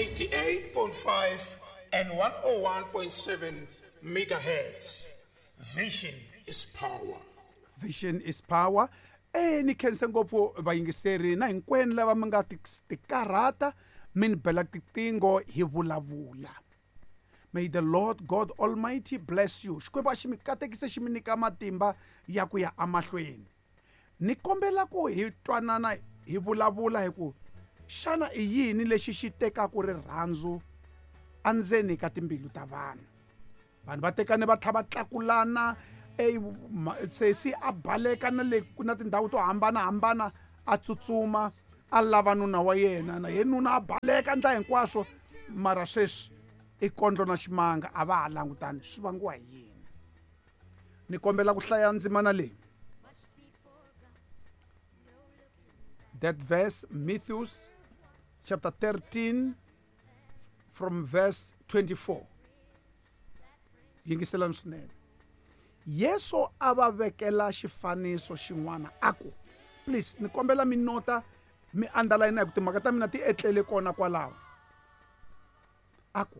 88.5 and 101.7 megahertz. Vision is power. Vision is power. Ni khense ngopfu vayingiseri na hinkwenu lava mi nga tikarhata mi ni bela tiqingho hi vulavula. May the Lord God Almighty bless you. Xikwembu a xi mi katekise xi mi nyika matimba ya ku ya emahlweni. Ni kombela ku hi twanana hi vulavula hi ku xana i yini lexi xi tekaka rirhandzu endzeni ka timbilu ta vanhu. Vanhu va tekane va tlha va tlakulana, sesi a baleka na le na tindhawu to hambanahambana a tsutsuma a lava nuna wa yena, na ye nuna a baleka ndla hinkwaswo, mara sweswi i kondlo na ximanga a va ha langutani. Swi vangiwa hi yini? Ni kombela ku hlaya ndzimana leyi. That verse, Matthew chapter 13 from verse 24. Yingiselani swinene. Yesu a va vekela xifaniso xin'wana a ku, please ni kombela mi nota mi underline hi ku timhaka ta mina ti etlele kona kwalaho. A ku,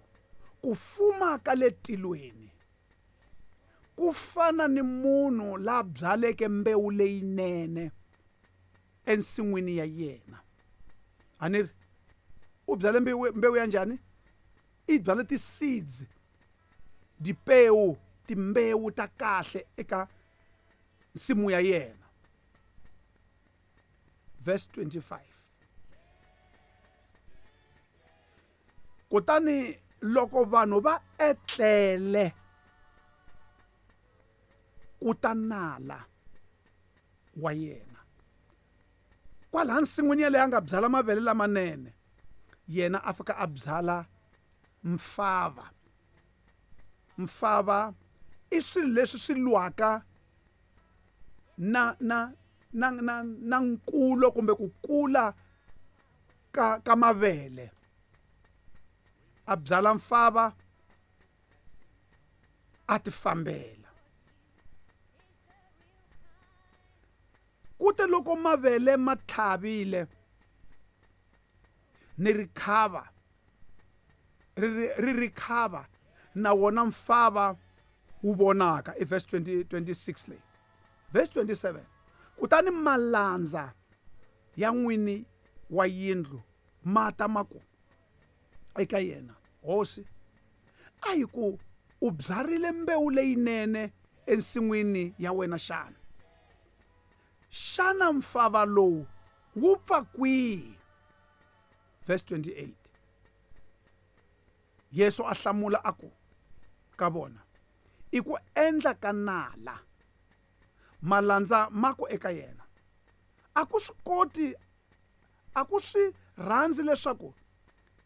ku fuma ka le tilweni ku fana ni munhu la byaleke mbewu leyinene ensin'wini ya yena. A ni ri u byale mbewu ya njhani? I byale ti-seeds, dipewu, timbewu ta kahle eka nsimu ya yena. Verse 25. Kutani loko vanhu va etlele ku ta nala wa yena kwalaha nsin'wini yaleyo a nga byala mavele lamanene, yena a fika a byala mfava. Mfava i swilo leswi swi lwaka na na na na na nkulo kumbe ku kula ka mavele. A byala mfava a tifambela. Kute loko mavele ma tlhavile ni rikhava ri rikhava na wona mfava wu vonaka. I verse 26 leyi. Verse 27. Kutani malandza ya n'wini wa yindlu ma ta ma ku eka yena, Hosi, a hi ku u byarile mbewu leyinene ensin'wini ya wena xana? Xana mfava lowu wu pfa kwihi? Verse 28. Yesu a hlamula a ku ka vona, i ku endla ka nala. Malandza ma ku eka yena, a ku swi koti, a ku swi rhandzi leswaku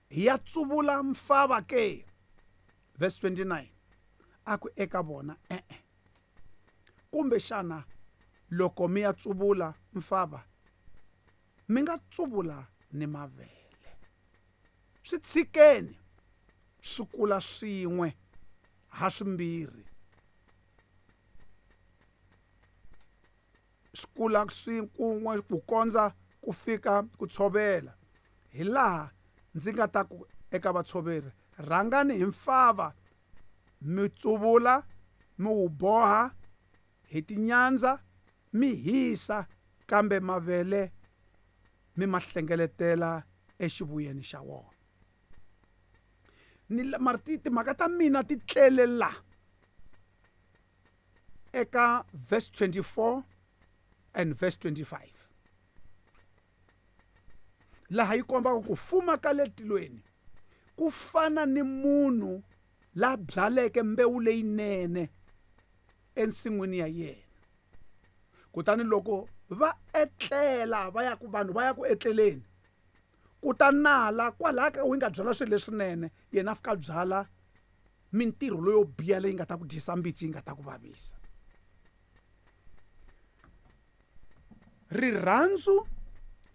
hi ya tsuvula mfava ke? Verse 29. A ku eka vona, e-e. Kumbe xana loko mi ya tsuvula mfava, mi nga tsuvula ni mavele. Swi tshikeni swi kula swin'we ha swimbirhi. Swi kula kun'we ku kondza ku fika ku tshovela. Hi laha ndzi nga ta ku eka vatshoveri, rhangani hi mfava mi tsuvula mi wu boha hi tinyandza mi hisa, kambe mavele mi ma hlengeletela exivuyeni xa wona. Ni mara timhaka ta mina ti tlele la eka verse 24 and verse 25, laha yi kombaka ku fuma ka le tilweni ku fana ni munhu la byaleke mbewu leyinene ensin'wini ya yena. Kutani loko va etlela, va ya ku vanhu va ya ku etleleni, ku ta nala kwalaha ka wu nga byala swilo leswinene, yena a fika a byala mintirho leyo biha leyi nga ta ku dyisa mbitsi, yi nga ta ku vavisa. Rirhandzu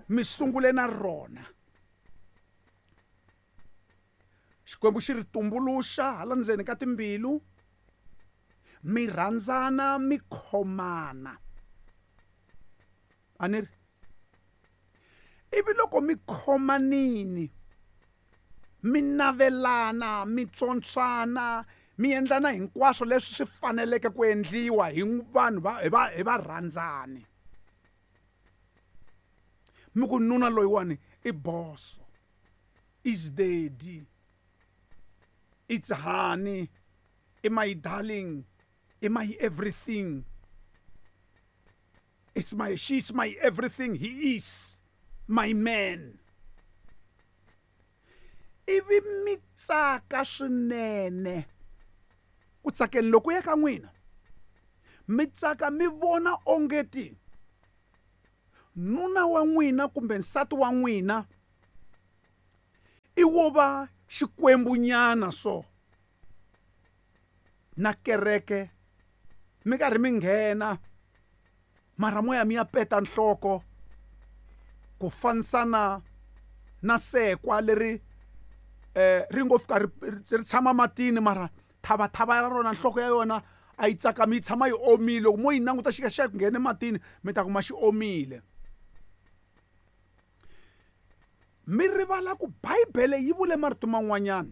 mi sungule na rona. Xikwembu xi ri tumbuluxa hala ndzeni ka timbilu, mi rhandzana, mi khomana. A ni ri ivi loko mi khomanini, Mi navelana, mi tswontswana, mi endlana hinkwaswo leswi swi faneleke ku endliwa hi vanhu va hi va hi varhandzani. Mi ku nuna loyiwani i boso, is daddy, it's honey, i my darling, i my everything. It's my, she's my everything, he is my man. Ivi mi tsaka swinene ku tsakeni loko ya ka n'wina, mi tsaka mi vona ongeti nuna wa n'wina kumbe nsati wa n'wina i wo va xikwembunyana so na kereke mi karhi mi nghena mara moya mi ya peta nhloko ku fanisana na sekwa leri ri ngo fika ri tshama matini mara thavathava ra rona nhloko ya yona a yi tsakami yi tshama yi omile. Loko mo yi languta xi xa ku nghena ematini mi ta kuma xi omile. Mi rivala ku Bibele yi vule marito man'wanyana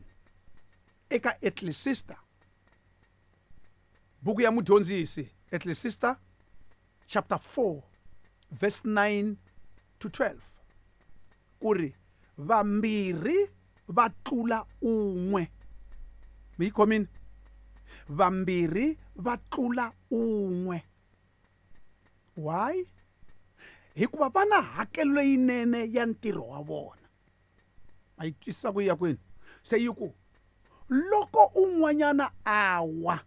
eka Ecclesiastes, buku ya mudyondzisi, Ecclesiastes chapter 4 verse 9 to 12, ku ri vambirhi va tlula un'we. Mi yi khomile? Vambirhi va tlula un'we. Why? Hikuva va na hakelo leyinene ya ntirho wa vona. A yi twisisa ku ya kwini? Se yi ku loko un'wanyana a wa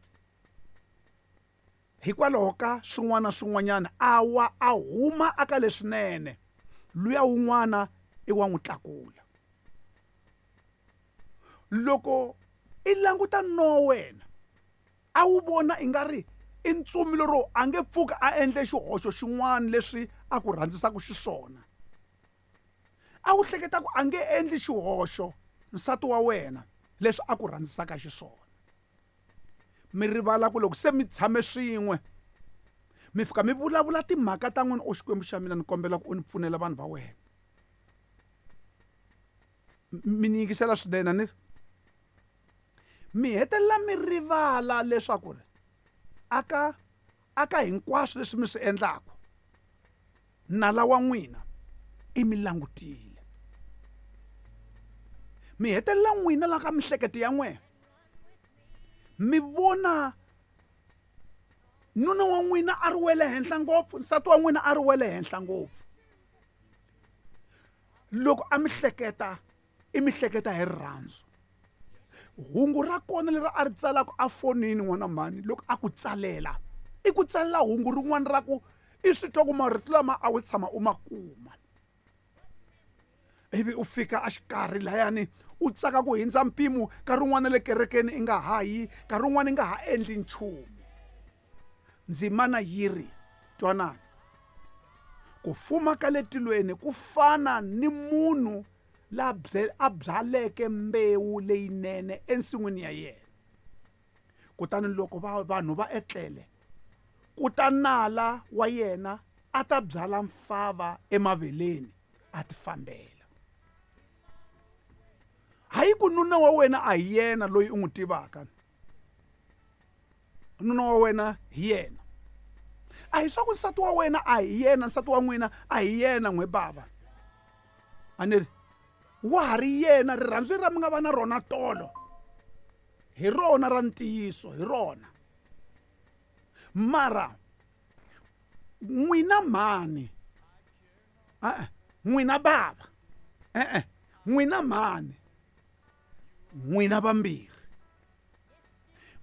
hikwalaho ka swin'wana swin'wanyana, a wa a huma aka leswinene, luya wun'wana i wa n'wi tlakula. Loko i languta no wena a wu vona i nga ri i ntsumi lero a nge pfuki a endle xihoxo xin'wana leswi a ku rhandzisaka xiswona, a wu hleketa ku a nge endli xihoxo nsati wa wena leswi a ku rhandzisaka xiswona. Mi rivala ku loko se mi tshame swin'we mi fika mi vulavula timhaka ta n'wina, o Xikwembu xa mina ni kombela ku u ni pfunela vanhu va wena. Mi ni yingisela swinene ni ri mi hetelela mi rivala leswaku ri aka hinkwaswo leswi mi swi endlaka nala wa n'wina i mi langutile. Mi hetelela n'wina la ka mihleketo ya n'wina mi vona nuna wa n'wina a ri wele henhla ngopfu, nsati wa n'wina a ri wele henhla ngopfu. Loko a mi hleketa i mi hleketa hi rirhandzu. Hungu ra kona leri a ri tsalaka a fonini n'wana mhani loko a ku tsalela, i ku tsalela hungu rin'wana ra ku i swi twa ku marito lama a wu tshama u ma kuma. Ivi u fika a xikarhi layani u tsaka ku hindza mpimo, nkarhi wun'wana le kerekeni i nga ha yi, nkarhi wun'wana i nga ha endli nchumu. Ndzimana yi ri, twanani, ku fuma ka le tilweni ku fana ni munhu la a byaleke mbewu leyinene ensin'wini ya yena. Kutani loko vanhu va etlele, ku ta nala wa yena a ta byala mfava emaveleni a ti fambela. Hayi ku nuna wa wena a hi yena loyi u n'wi tivaka, nuna wa wena hi yena. A hi swa ku nsati wa wena a hi yena, nsati wa n'wina a hi yena n'we bava. A ni ri wa ha ri yena, rirhandzu ra mi nga va na rona tolo hi rona ra ntiyiso, hi rona. Mara n'wina mhani, n'wina bava, n'wina mhani, n'wina vambirhi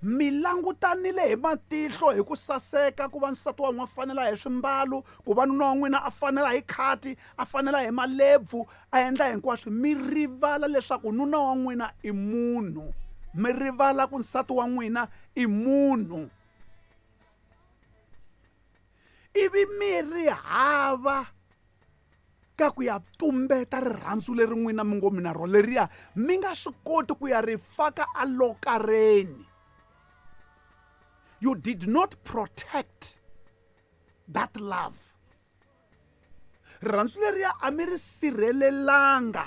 mi langutanile hi matihlo hi ku saseka ku va nsati wa n'wina a fanela hi swimbalo, ku va nuna wa n'wina a fanela hi khati, a fanela hi malebvu, a endla hinkwaswo. Mi rivala leswaku nuna wa n'wina i munhu, mi rivala ku nsati wa n'wina i munhu. Ivi mi ri hava ka ku ya tumbeta rirhandzu leri n'wina mi ngo mi na rona leriya, mi nga swi koti ku ya ri faka alokareni. You did not protect that love. Rirhandzu leriya a mi ri sirhelelanga.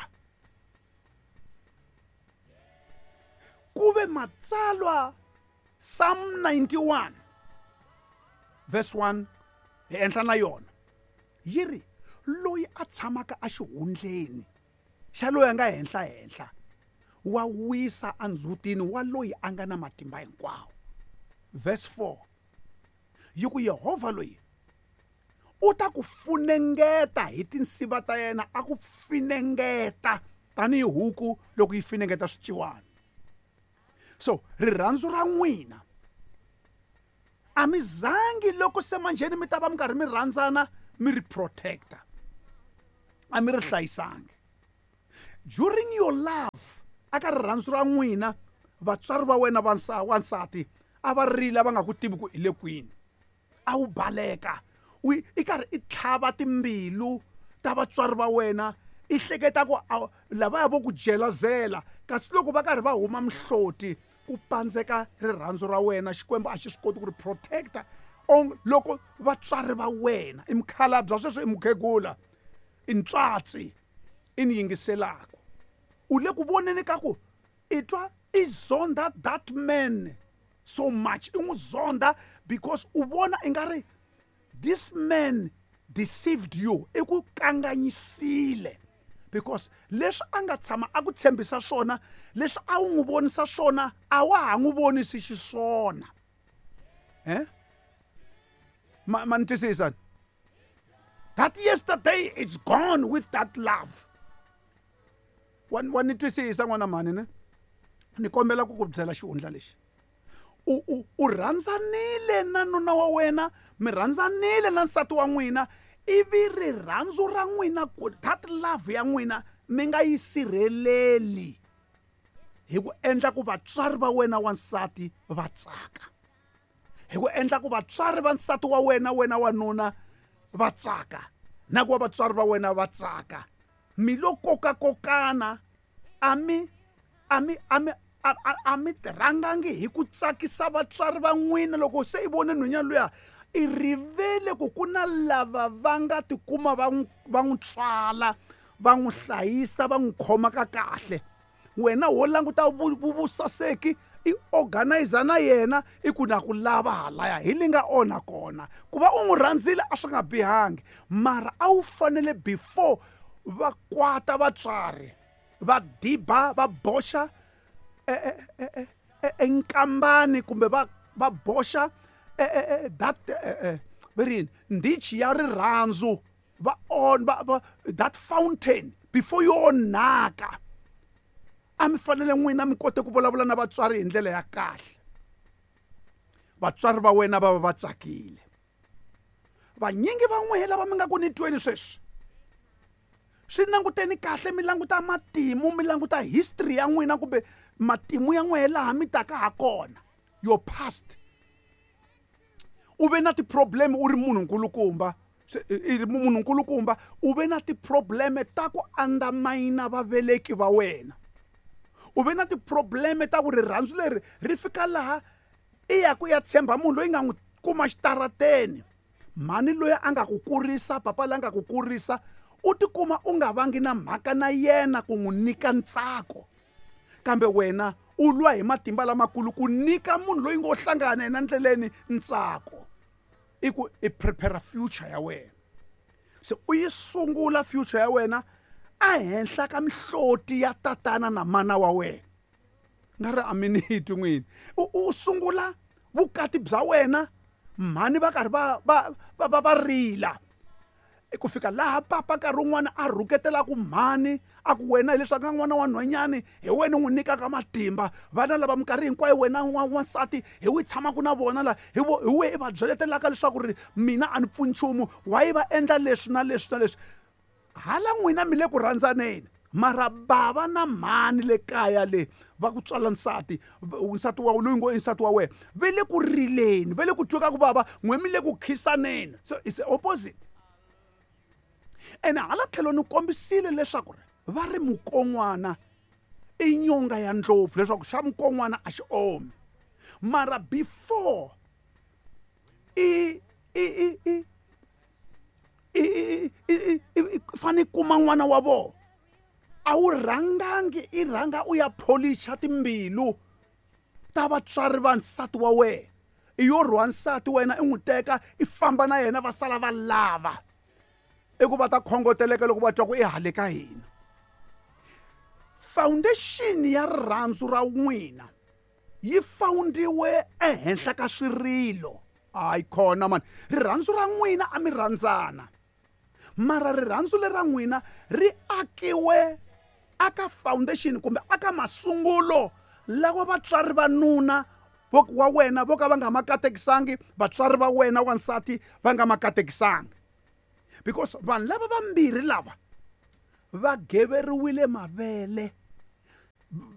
Ku ve matsalwa Psalm 91 verse 1 hi enhla na yona yi ri loyi a tshamaka exihundleni xa loyi a nga henhla henhla wa wisa endzhutini wa loyi a nga na matimba hinkwawo. Verse 4 yi ku Yehovha loyi u ta ku funengeta hi tinsiva ta yena a ku finengeta tanihi huku loko yi finengeta swiciwana. So rirhandzu ra n'wina a mi zangi loko se manjheni mi ta va mi karhi mi rhandzana mi ri protector a mi ri hlayisangi. During your love aka rirhandzu ra n'wina vatswari va wena va wansati a va rila va nga ku tivi ku i le kwini a wu baleka u i karhi i tlhava timbilu ta vatswari va wena i hleketa ku lavaya vo ku jelazela kasi loko va karhi va huma mihloti ku pandzeka rirhandzu ra wena Xikwembu a xi swi koti ku ri protector loko vatswari va wena i mukhalabye sweswo i mukhegula i ntswatsi i ni yingiselaka u le ku voneni ka ku i twa i zonda that man so much i n'wi zonda because u vona i nga ri this man deceived you i ku kanganyisile because leswi a nga tshama a ku tshembisa swona leswi a wu n'wi vonisa swona a wa ha n'wi vonisi xiswona eh ma ma ni twisisa that yesterday it's gone with that love wa wa ni twisisa n'wana mhani ne ni kombela ku ku byela xihundla lexi u u u rhandzanile na nuna wa wena mi rhandzanile na nsati wa n'wina ivi rirhandzu ra n'wina ku that love ya n'wina mi nga yi sirheleli hi ku endla ku vatswari va wena wansati va tsaka hi ku endla ku vatswari va nsati wa wena wena wanuna va tsaka na ku va vatswari va wena va tsaka mi lo kokakokana a mi a mi a mi a mi rhangangi hi ku tsakisa vatswari va n'wina loko se i vone nhwenya luya i rivele ku ku na lava va nga tikuma va n'wi va n'wi tswala va n'wi hlayisa va n'wi khoma ka kahle wena wo languta vusaseki i organizer na yena i ku na ku lava halaya hi li nga onha kona ku va u n'wi rhandzile a swi nga bihangi mara a wu fanele before va kwata vatswari va diba va boxa enkambani kumbe va va boxa that va ri yini ndichi ya rirhandzu va on va va that fountain before yi onhaka a mi fanele n'wina mi kote ku vulavula na vatswari hi ndlela ya kahle vatswari va wena va va va tsakile vanyingi va n'wehe lava mi nga ku ni tweni sweswi swi languteni kahle mi languta matimu mi languta history ya n'wina kumbe matimu ya n'wehe laha mi taka ha kona your past u ve na ti-problem u ri munhu nkulukumba i ri munhu nkulukumba u ve na ti-problem ta ku andamayina vaveleki va wena u ve na ti-problem ta ku rirhandzu leri ri fika laha i ya ku ya tshemba munhu loyi nga n'wi kuma xitarateni mhani loyi a nga ku kurisa papa loyi a nga ku kurisa u tikuma u nga vangi na mhaka na yena ku n'wi nyika ntsako kambe wena u lwa hi matimba lamakulu ku nyika munhu loyi ngo hlangana yena ndleleni ntsako i ku i prepare future ya wena se u yi sungula future ya wena ehenhla ka mihloti ya tatana na mana wa wena nga ri a mi ni twi n'wini u sungula vukati bya wena mhani va karhi va va va va va rila ku fika laha papa nkarhi wun'wana a rhuketelaku mhani a ku wena hileswaku nga n'wana wa nhwanyani hi wena u n'wi nyikaka matimba vana lava minkarhi hinkwayo wena wansati hi wi tshamaka na vona la hi hi we i va byeletelaka leswaku ri mina a ni pfuni nchumu why va endla leswi na leswi na leswi hala n'wina mi le ku rhandzaneni mara bava na mhani le kaya le va ku tswala nsati nsati wa loyi ngo i nsati wa wena ve le ku rileni ve le ku tweka ku vava n'we mi le ku khisaneni so it's the opposite ene hala tlhelo ni kombisile leswaku ri va ri mukon'wana i nyonga ya ndlopfu leswaku xa mukon'wana a xi omi mara before i i i i i fane kuma n'wana wa vona a wu rhangangi i rhanga u ya pholicha timbilu. ta vatswari va nsati wa wena. I yo rhwa nsati wena i n'wi teka i famba na yena va sala va lava. I ku va ta khongoteleka loko va twa ku i hale ka hina. Foundation ya rirhandzu ra n'wina yi foundiwe ehenhla ka swirilo. Hayi khona mani, rirhandzu ra n'wina a mi rhandzana, mara rirhandzu leri ra n'wina ri akiwe aka foundation kumbe aka masungulo lawa vatswari va nuna wa wena vo ka va nga ma katekisangi, vatswari va wena wansati va nga ma katekisangi. Because vanhu lava vambirhi lava va geveriwile mavele,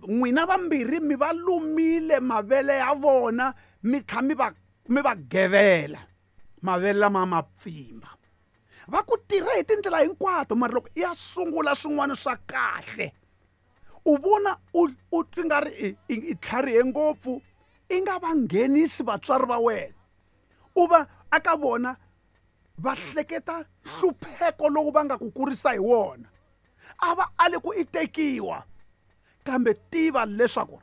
n'wina vambirhi mi va lumile mavele ya vona, mi tlha mi va gevela mavele lama ma pfimba. Va ku tirha hi tindlela hinkwato, mara loko i ya sungula swin'wana swa kahle u vona u twi nga ri i tlharihe ngopfu, i nga va nghenisi vatswari va wena, u va aka vona va hleketa nhlupheko lowu va nga ku kurisa hi wona. A va ali ku i tekiwa, kambe tiva leswaku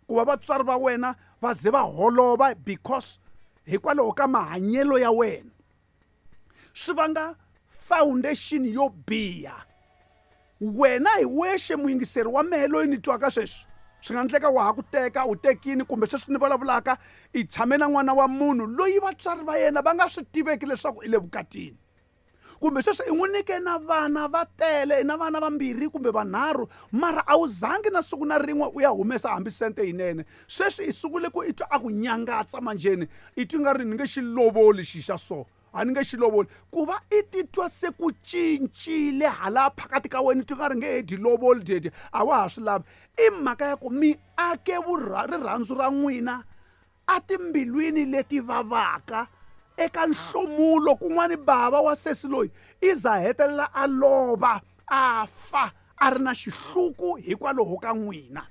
ku va vatswari va wena va ze va holova because hikwalaho ka mahanyelo ya wena swi vanga foundation yo biha. Wena hi wexe muyingiseri wa mehe loyi ni twaka sweswi, swi nga endleka wa ha ku teka, u tekini, kumbe sweswi ni vulavulaka i tshame na n'wana wa munhu loyi vatswari va yena va nga swi tiveki leswaku i le vukatini, kumbe sweswi i n'wi nyike na vana va tele, na vana vambirhi kumbe vanharhu, mara a wu zangi na siku na rin'we u ya humesa hambi sente yinene. Sweswi i sungule ku i twa a ku nyangatsa manjheni, i twi nga ri ni nge xi lovoli xi xa so, a ni nge xi lovoli. Ku va i titwa se ku cincile hala phakati ka wena, i twi nga ri nge he dyi lovoli dyedye, a wa ha swi lavi. I mhaka ya ku mi ake rirhandzu ra n'wina a timbilwini leti vavaka eka nhlomulo. Kun'wani bava wa sesi loyi i za hetelela a lova, a fa a ri na xihluku hikwalaho ka n'wina.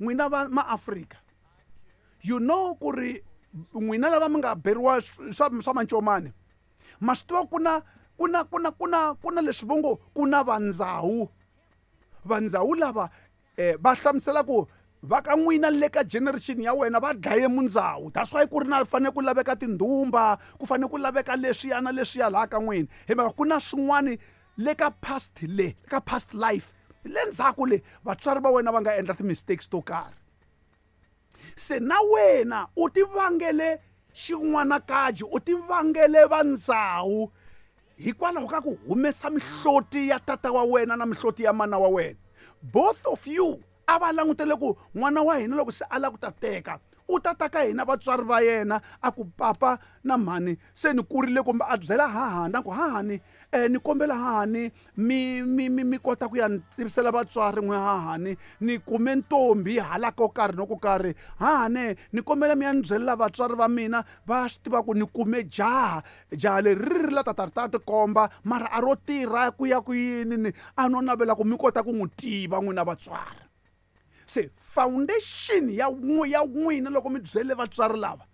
N'wina va maAfrika, you know ku ri n'wina lava mi nga beriwa swa mancomani, ma swi tiva ku na leswi vo ngo ku na vandzawu. Vandzawu lava va hlamusela ku va ka n'wina le ka generation ya wena va dlaye mundzawu. That's why ku ri na fanele ku laveka tindhumba, ku fanele ku laveka leswiya na leswiya laha ka n'wina. Hi mhaka ku na swin'wani le ka past le, ka past life, le ndzhaku le vatswari va wena va nga endla ti-mistakes to karhi. Se na wena u ti vangele xin'wanakaji, u ti vangele vandzawu hikwalaho ka ku humesa mihloti ya tata wa wena na mihloti ya mana wa wena. Both of you a va langutele ku n'wana wa hina loko se a lava ku ta teka, u ta ta ka hina vatswari va yena a ku papa na mhani se ni kurile, kumbe a byela hahani a ku hahani, ni kombela hahani mi kota ku ya ni tivisela vatswari n'we hahani, ni kume ntombi hala ko karhi no ko karhi, hahani ni kombela mi ya ni byelela vatswari va mina va swi tiva ku ni kume jaha, jaha leri ri ri la ta ta ri ta tikomba mara a ro tirha ku ya ku yini, ni a no navela ku mi kota ku n'wi tiva n'wina vatswari. Se foundation ya n'wina loko mi byele vatswari lava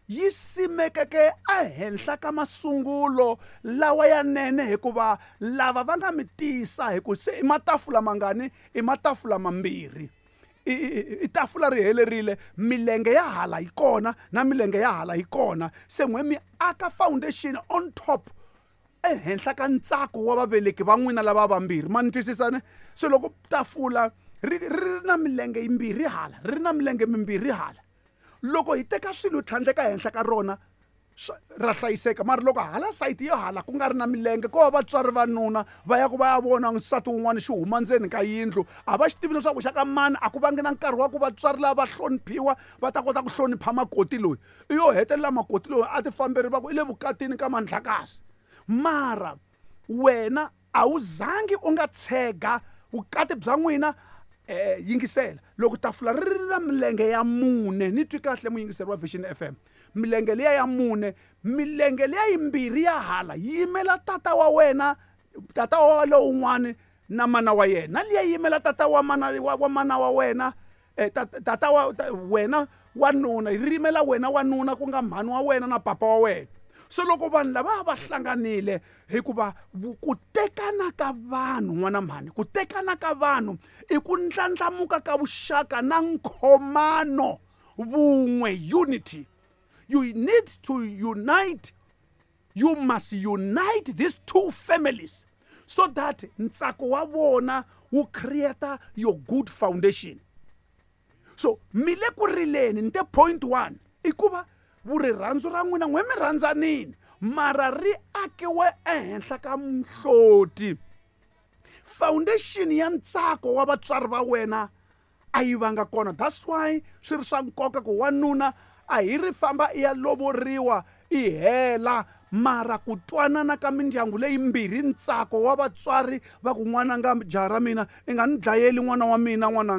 yi simekeke ehenhla ka masungulo lawa ya nene, hikuva lava va nga mi tisa hi ku se i matafula mangani, i matafula mambirhi. I tafula ri helerile, milenge ya hala yi kona na milenge ya hala yi kona. Se n'we mi aka foundation on top ehenhla ka ntsako wa vaveleki va n'wina lava vambirhi. Ma ni twisisa ne? Se loko tafula ri ri na milenge yimbirhi hala, ri na milenge mimbirhi hala, loko hi teka swilo hi tlhandleka ehenhla ka rona ra hlayiseka. Mara loko hala sayiti yo hala ku nga ri na milenge, ko va vatswari va nuna va ya ku va ya vona nsati wun'wana xi huma ndzeni ka yindlu, a va xi tivi leswaku xa ka mani, a ku vangi na nkarhi wa ku vatswari lava va hloniphiwa va ta kota ku hlonipha makoti loyi. I yo hetelela makoti loyi a ti famberi va ku i le vukatini ka Mandlakazi. Mara wena a wu zangi u nga tshega vukati bya n'wina. Yingisela, loko tafula ri ri na milenge ya mune, ni twi kahle muyingiseri wa Vision FM, milenge liya ya mune, milenge liya yimbirhi ya hala yi yimela tata wa wena, tata wa lowun'wani na mana wa yena, na liya yimela tata wa mana wa mana wa wena, tata wa wena wa nuna, yi yimela wena wa nuna ku nga mhani wa wena na papa wa wena. Se loko vanhu lava va hlanganile, hikuva ku tekana ka vanhu, n'wana mhani, ku tekana ka vanhu i ku ndlandlamuka ka vuxaka na nkhomano Vun'we, unity. You need to unite. You must unite these two families so that ntsako wa vona wu create your good foundation. So mi le ku rileni, ni te point 1 i ku va vurirhandzu ra n'wina n'we mi rhandzanini, mara ri akiwe ehenhla ka muhloti. Foundation ya ntsako wa vatswari va wena a yi vanga kona. That's why swi ri swa nkoka ku wanuna a hi ri famba i ya lovoriwa i hela, mara ku twanana ka mindyangu leyimbirhi, ntsako wa vatswari va ku n'wananga, jaha ra mina, i nga ni dlayeli n'wana wa mina n'wananga.